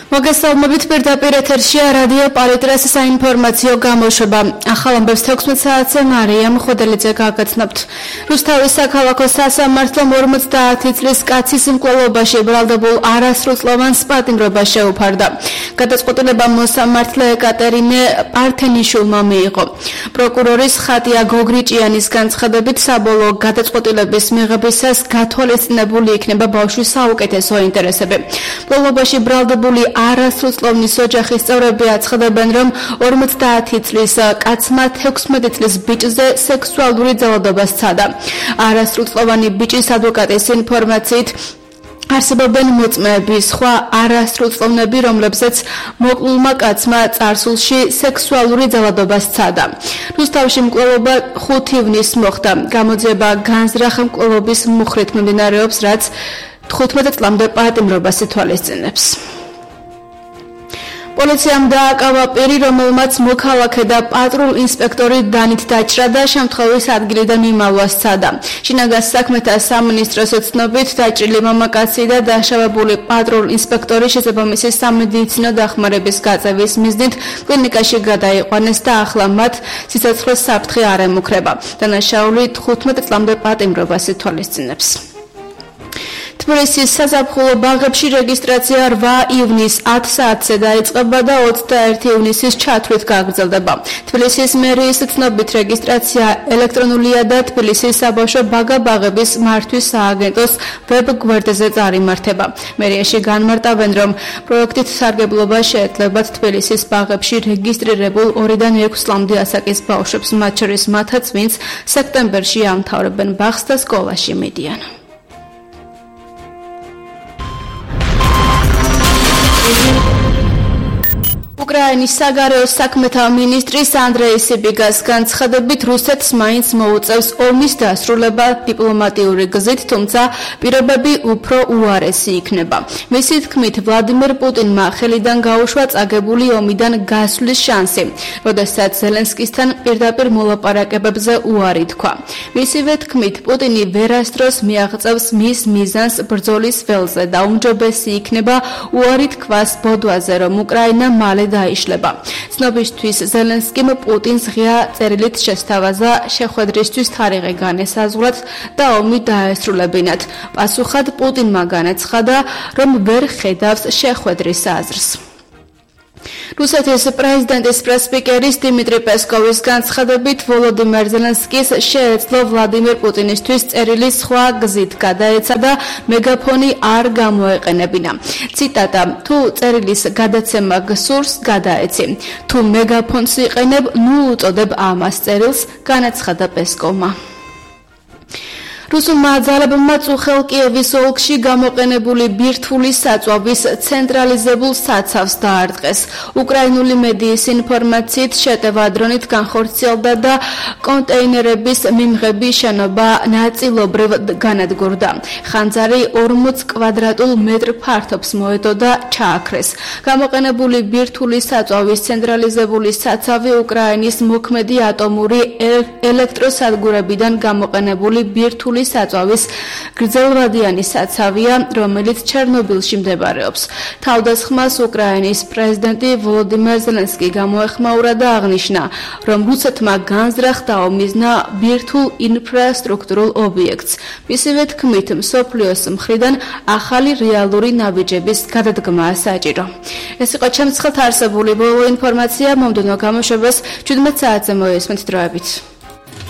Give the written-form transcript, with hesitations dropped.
მოგესალმებით პირდაპირ ეთერშია რადიო პარიტრას საინფორმაციო გამოშვება. ახალ ამბებს 16 საათზე მარიამ ხოდელიძე გაგაცნობთ. რუსთავის საქალაქო სასამართლომ 50 წლის კაცის მკვლელობაში ბრალდებულ არასრულწლოვანს პატიმრობა შეუფარდა. გადაწყვეტილება მოსამართლე ეკატერინე პართენიშვილმა მიიღო. პროკურორის ხატია გოგრიჭიანის განცხადებით საბოლოო გადაწყვეტილების მიღებისას გათვალისწინებული იქნება ბავშვის საუკეთესო ინტერესები. მკვლელობაში ბრალდებული არასრულწლოვნის ოჯახის წევრები აცხადებენ, რომ 50 წლის კაცმა 16 წლის ბიჭზე სექსუალური ძალადობა სცადა. არასრულწლოვანი ბიჭის ადვოკატის ინფორმაციით არსებობენ მოწმეები, სხვა არასრულწლოვნები, რომლებზეც მოკლულმა კაცმა წარსულში სექსუალური ძალადობა სცადა. რუსთავში მკვლელობა 5 ივნისს მოხდა. გამოძიება განზრახ მკვლელობის მუხრით მიმდინარეობს, რაც 15 წლამდე პატიმრობას ითვალისწინებს. პოლიციამ დააკავა პირი, რომელმაც მოქალაქე და პატრულ ინსპექტორი დანით დაჭრა და შემთხვევის ადგილიდან მიმალვა სცადა. შინაგან საქმეთა სამინისტროს ცნობით დაჭრილი მამაკაცი და დაშავებული პატრულ ინსპექტორი შესაბამისი სამედიცინო დახმარების გაწევის მიზნით კლინიკაში გადაიყვანეს და ახლა მათ სიცოცხლის საფრთხე არ ემუქრება. დანაშაული 15 წლამდე პატიმრობას ითვალისწინებს. თბილისის საზაფხულო ბაღებში რეგისტრაცია 8 ივნისს 10 საათზე დაიწყება და 21 ივნისის ჩათვლით გაგრძელდება. თბილისის მერიის ცნობით რეგისტრაცია ელექტრონულია და თბილისის საბავშვო ბაღ-ბაღების მართვის სააგენტოს ვებ გვერდზე წარიმართება. მერიაში განმარტავენ, რომ პროექტით სარგებლობა შეეძლებათ თბილისის ბაღებში რეგისტრირებულ 2-დან 6 წლამდე ასაკის ბავშვებს, მათ შორის მათაც, ვინც სექტემბერში ამთავრებენ ბაღს და სკოლაში მიდიან. უკრაინის საგარეო საქმეთა მინისტრის ანდრეი სიბიგას განცხადებით, რუსეთს მაინც მოუწევს ომის დასრულება დიპლომატიური გზით, თუმცა პირობები უფრო უარესი იქნება. მისი თქმით, ვლადიმერ პუტინმა ხელიდან გაუშვა წაგებული ომიდან გასვლის შანსი, როდესაც ზელენსკისთან პირდაპირ მოლაპარაკებებზე უარი თქვა. მისივე თქმით, პუტინი ვერასდროს მიაღწევს მის მიზანს ბრძოლის ველზე და უმჯობესი იქნება უარი თქვას ბოდვაზე, რომ უკრაინა მალე დაიშლება. ცნობისთვის ზელენსკიმ პუტინს ღია წერილით შესთავაზა შეხვედრისთვის თარიღი განესაზღვრათ და ომი დაესრულებინათ. პასუხად პუტინმა განაცხადა, რომ ვერ ხედავს შეხვედრის აზრს. რუსეთის პრეზიდენტის პრესსპიკერის დიმიტრი პესკოვის განცხადებით, ვოლოდიმერ ზელენსკის შეეძლო ვლადიმერ პუტინისთვის წერილი სხვა გზით გადაეცა და მეგაფონი არ გამოეყენებინა. ციტატა: თუ წერილის გადაცემა გსურს, გადაეცი. თუ მეგაფონს იყენებ, ნუ უწოდებ ამას წერილს, განაცხადა პესკოვმა. რუსულმა ძალებმა წუხელ კიევის ოლქში გამოყენებული ბირთვული საწვავის ცენტრალიზებულ საცავს დაარტყეს. უკრაინული მედიის ინფორმაციით შეტევა დრონით განხორციელდა და კონტეინერების მიმღები შენობა ნაწილობრივ განადგურდა. ხანძარი 40 კვადრატულ მეტრ ფართობს მოედო და ჩააქრეს. გამოყენებული ბირთვული საწვავის ცენტრალიზებული საცავი უკრაინის მოქმედი ატომური ელექტროსადგურებიდან გამოყენებული ბირთვული საწვავის გრძელვადიანი საცავია, რომელიც ჩერნობილში მდებარეობს. თავდასხმას უკრაინის პრეზიდენტი ვოლოდიმერ ზელენსკი გამოეხმაურა და აღნიშნა, რომ რუსეთმა განზრახ დაომიზნა ბირთვულ ინფრასტრუქტურულ ობიექტს. მისივე თქმით, მსოფლიოს მხრიდან ახალი რეალური ნაბიჯების გადადგმაა საჭირო. ეს იყო ჩემს ხელთ არსებული ბოლო ინფორმაცია, მომდევნო გამოშვებას 17 საათზე მოესმენთ დროებით.